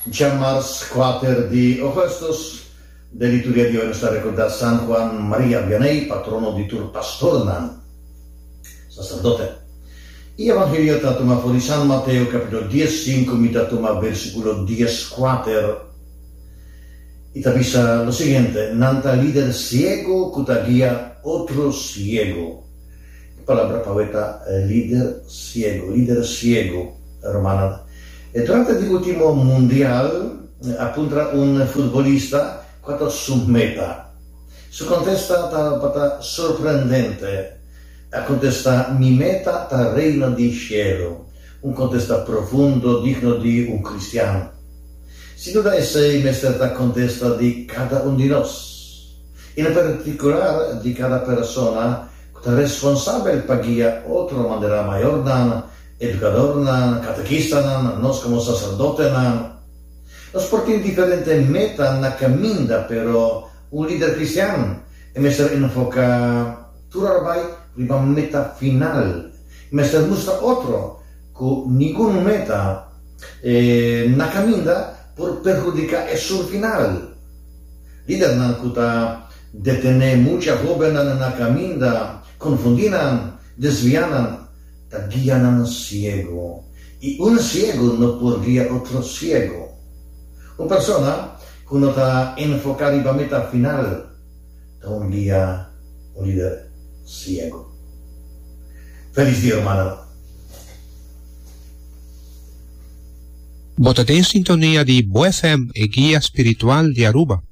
Djamars kuater di Augustus, den liturgia di awe nos ta recorda San Juan Maria Vianney, patrono di tur pastornan, sacerdote. E evangelio ta tuma for di San Mateo capitulo diesinku, mi ta tuma versiculo dieskuater, i ta bisa lo siguiente, Nan ta lider ciego cu ta guia otro ciego. E palabra pa awe ta lider ciego, lider ciego, rumannan. Durante di ultimo mundial a puntra un futbolista cua ta su meta. Su contesta tabata sorprendente. A contesta, Mi meta ta Reino di Cielo. Un contesta profundo, digno di un cristian. Sin duda esey mester ta contesta di cada un di nos. En particular di cada persona cu ta responsabel pa guia otro manera mayornan, educadornan, catequistanan, nos como sacerdotenan. Nos por tin diferente meta na caminda pero un lider cristian e mester enfoca tur ora bay riba meta final. E mester mustra otro cu ningun meta na caminda por perhudica esun final. Lidernan ku ta detené mucha hóbennan na kaminda, konfundí nan, desviá nan, ta guia nan siegu. I un siegu no por guia otro siegu. Un persona ku no ta enfoká riba meta final ta un guia, un lider siegu. Felis dia rumannan. Bo ta den sintonia di Bo FM, e guia spiritual di Aruba.